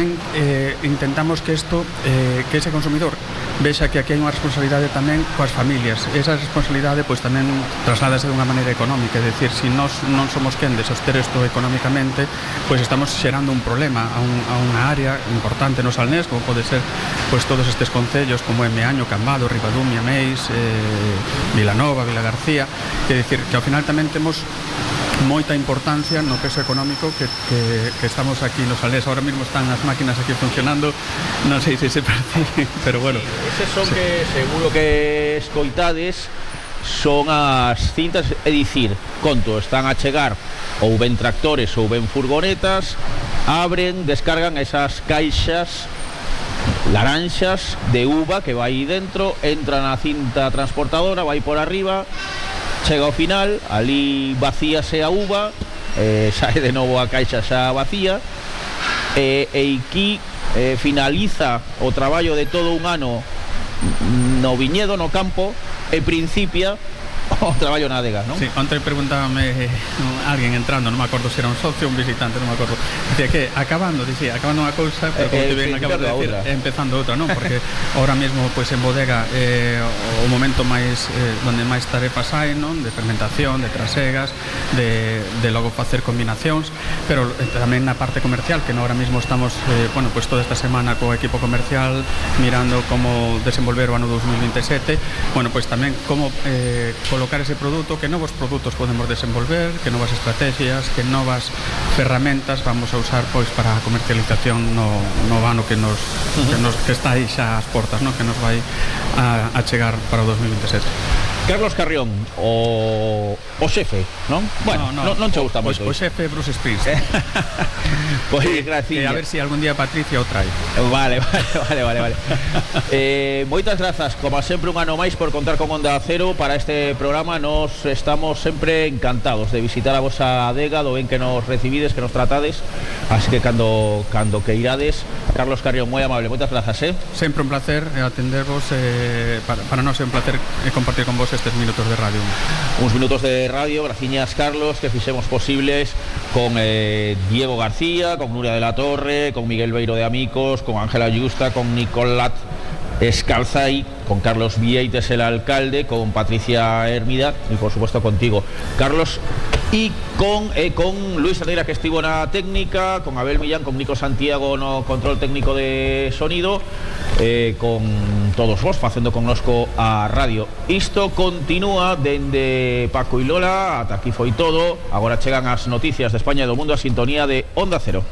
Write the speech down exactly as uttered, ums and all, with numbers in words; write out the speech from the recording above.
tamén eh, intentamos que isto, eh, que ese consumidor vexa que aquí hai unha responsabilidade tamén coas familias. Esa responsabilidade pois tamén trasládase de unha maneira económica, é dicir, se nós non somos quen de soster isto económicamente, pois estamos xerando un problema a, un, a unha área importante no Salnés, como pode ser pois todos estes concellos como é Meaño, Cambado, Ribadumia, Meis, eh, Vilanova, Vilagarcía, que é dicir que ao final tamén temos moita importancia no peso económico que, que, que estamos aquí nos Salnés. Ahora mismo están as máquinas aquí funcionando, non sei se se percibe, pero bueno. Eses son sí. que, seguro que escoitades, son as cintas, é dicir, conto, están a chegar ou ben tractores ou ben furgonetas, abren, descargan esas caixas laranxas de uva que vai dentro, entra na cinta transportadora, vai por arriba, chega ao final, ali vacíase a uva, eh, sae de novo a caixa xa vacía, e, e aquí eh, finaliza o traballo de todo un ano no viñedo, no campo, e principia o traballo na adega, non? Sí, ontem preguntábame eh, alguén entrando, non me acordo se era un socio ou un visitante, non me acordo. Dicía que acabando, dicía, acabando unha cousa, pero como eh, te ben sí, acabas de decir, outra. empezando outra, non? Porque ahora mesmo pois en bodega eh, o momento máis eh, donde máis tarefas hai, non? De fermentación, de trasegas, de, de logo facer combinacións, pero eh, tamén na parte comercial, que no ahora mesmo estamos, eh, bueno, pois toda esta semana co equipo comercial mirando como desenvolver o ano dos mil veintisiete, bueno, pois tamén como eh, colocar ese produto, que novos produtos podemos desenvolver, que novas estrategias, que novas ferramentas vamos a usar pois para a comercialización no, no ano que nos, que nos que está aí xa ás portas, no? Que nos vai a, a chegar para o dos mil veintisiete. Carlos Carrión, o, o xefe, non? Bueno, non, non, non che gusta moito. O, o xefe Bruce Springsteen. Pois que, graciña. Que a ver se si algún día Patricia o trae. Vale, vale, vale, vale, vale. eh, moitas grazas, como sempre un ano máis por contar con Onda Cero para este programa. Nos estamos sempre encantados de visitar a vosa adega, do ben que nos recibides, que nos tratades. Así que cando, cando que irades, Carlos Carrión, moi amable, moitas grazas, eh? Sempre un placer atendervos, eh, para, para nós é un placer compartir con vos estes minutos de radio. Uns minutos de radio, graciñas Carlos, que fixemos posibles con eh, Diego García, con Nuria de la Torre, con Miguel Beiro de Amicos, con Ángela Yusta, con Nicolat Escalzai, con Carlos Vieites, el alcalde, con Patricia Hermida y por supuesto contigo, Carlos, y con, eh, con Luis Herrera, que estivo na técnica, con Abel Millán, con Nico Santiago no control técnico de sonido, eh, con todos vos facendo connosco a radio. Isto continúa dende Paco e Lola, ata aquí foi todo. Agora chegan as noticias de España e do mundo a sintonía de Onda Cero.